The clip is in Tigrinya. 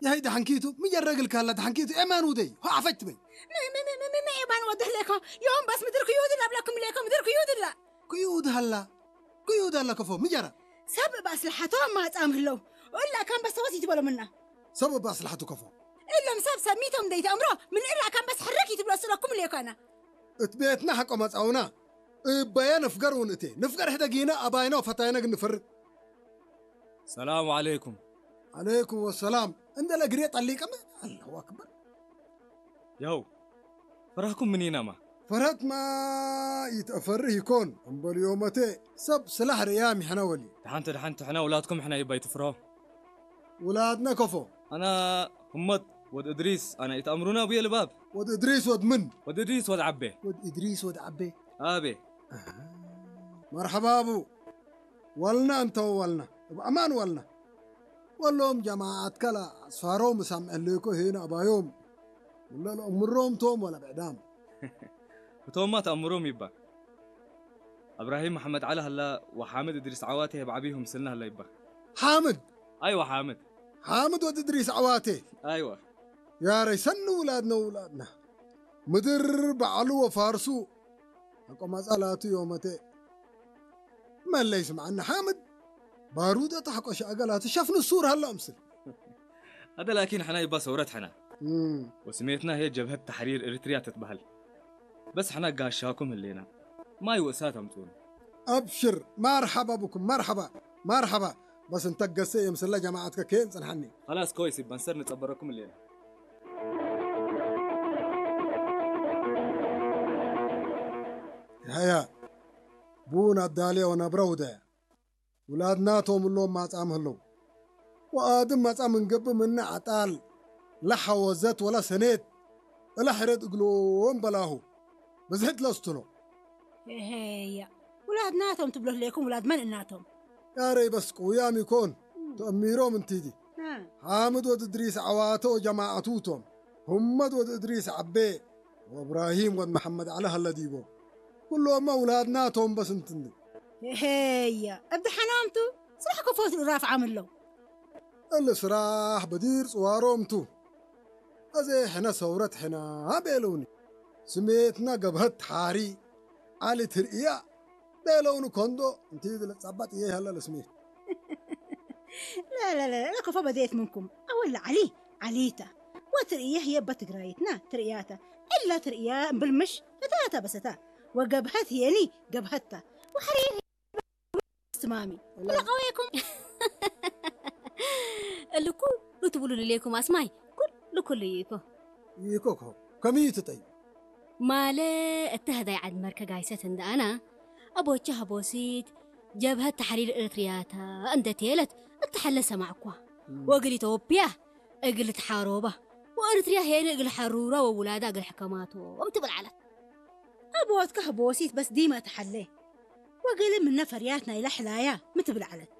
ያይ ደሓንኪቱ ምጀረግልካ ኣላ ደሓንኪቱ ኤማን ውደይ ሆ ዓፈች ትበይ። መ መ መ መ መ መ ኤማን ወደህሌኮ ዮም በስ ምድር ክዩድላ ብለኩም ሌኮ ምድር ክዩድላ። ክዩድ ሃላ ክዩድ ሃላ ከፎ ምጀራ። ሰብ ባስልሓቶ ማጻም ህለው እላ ካም በስተወስ ይትበሎምና። ሰብ ባስልሓቱ ከፎ እሎም ሰብ ሰሚቶም ደይተእምሮ ምን እላ ካም በስ ሕረክ ይትብሎ ስለኩም ሌኮና። እት ቤትና ሓቆ መጻውና እበየ ንፍገር እውን እቴ ንፍገር ሕደጊና ኣባይና ወፈታይና ግን ንፈርቅ። ሰላሙ ዓለይኩም። ዓለይኩም ወሰላም። እንደለ ግሬ ጠሊቀመ። ኣላሁ ኣክበር። ያው ፈራህኩም ምን ኢናማ። ፈርሀትማ ይትአፈርህ ይኮን እምበልዮመቴ ሰብ ስላሕ ርእያ ሚሕና ወሊ። ደሓንተ ደሓንተ ሕና ውላድኩም ሕና ይባይ ትፍርሆ። ውላድና ከፎ። ኣና ህመት ወድ እድሪስ ኣና ኢትኣምሩና ቡየ ልባብ። ወድ እድሪስ ወድ ምን? ወድ እድሪስ ወድ ዓቤ። ወድ እድሪስ ወድ ዓቤ። ኣቤ። መርሐባ ኣቡ። ዋልና እንተው ዋልና እብ አማን ዋልና። ወሎም ጀማዓትከ ለአስፋሮም እሳምዐሌኮ ሄን አባዮም። ወለ ለእምሮም ቶም ወለ ብዕዳም። እቶማ ተአምሮም ይባ። እብራሂም መሐመድ ዓሊ ሀላ ወሓምድ እድሪስ ዓዋቴ ህብ ዓብይሁ ምስልና ሀላ ይባ። ሓምድ። አይዋ ሓምድ። ሓምድ ወድ እድሪስ ዓዋቴ። አይዋ። ያረይ ሰኒ ውላድነ ውላድና። ምድር በዓሉ ወፋርሱ ኣቆማጻ ላቱ ዮመቴ። መለይ ስምዓኒ ሓምድ ባሩደ ታሕቆ ሻእገ ላቱ ሸፍኑ ሱር ሃላ ምስል። هذا لكن حنا يبا ثورة حنا እም፣ وسميتنا هي جبهة تحرير إريتريا تتبهل. بس حنا قاشاكم هلينا ما يوسات أمتون. ኣብሽር ማርሓባ ብኩም ማርሓባ ማርሓባ። በስ እንተገሰ የምስላ ጀማዓትከ ከየን ጽንሓኒ። خلاص كويس يبا نصير نتبركم الليلة. ሃያ ቡን ኣዳልያ ወነብረ ውደ ውላድ ናቶም እሎም ማጻም ህለው ወኣድም መጻ ምንገብ ምነ ዓጣል ለሐወዘት ወላ ሰኔት እላ ሕረት እግሎም በላሁ ብዝሕት ለስትሎ ሄያ ውላድ ናቶም ትብሎ ህሌኩም ውላድ መን እናቶም ያረይ በስ ቅውያም ይኮን ተእሚሮም እንቲዲ ሓምድ ወድ እድሪስ ዓዋተ ወጀማዓቱ ቶም ሁመድ ወድ እድሪስ ዓቤ ወእብራሂም ወድ መሐመድ ዓሊ ሃለ ዲቦ ኩሎማ ውላድና ቶም በስ እንትኒ ሄያ እብዲ ሓናምቱ ስራሕ ከፎት ራፍ ዓምለው እሊ ስራሕ በዲር ጽዋሮምቱ ኣዜ ሕነ ሰውረት ሕና ቤለውኒ ስሜትና ገብሀት ሓሪ ዓሊ ትርእያ ቤለውኒ ኮንዶ እንቲ ዝለጻባት እየ ያላ ለስሜት لا لا لا لا كفى بديت منكم أول علي عليتا وترئيه يبا تقرايتنا ترئياتا إلا ترئيا بالمش فتاتا بستا وقبهت يلي قبهتا وحريه استمامي ولا قويكم اللي كل تقولوا لي ليكم أسماي كل كل يكو ይኮኮ ከመይ እዩ ትጠይ ማለ እተህዳይ ዓድ መርከ ጋይሰት እንደ ኣና ኣቦቸ ሃቦሲት ጀብሀት ተሕሪር ኤርትርያታ እንደ ቴለት እተሐለ ሰማዕኳ ወእግል ኢትዮጵያ እግል ትሓሮባ ወኤርትርያ ሄነ እግል ሐሩራ ወውላዳ እግል ሕከማቶም ትብል ዓለት ኣቦትከ ሃቦሲት በስ ዲመ እተሐለ ወእግል ምነ ፈርያት ናይላ ሕላያ ምትብል ዓለት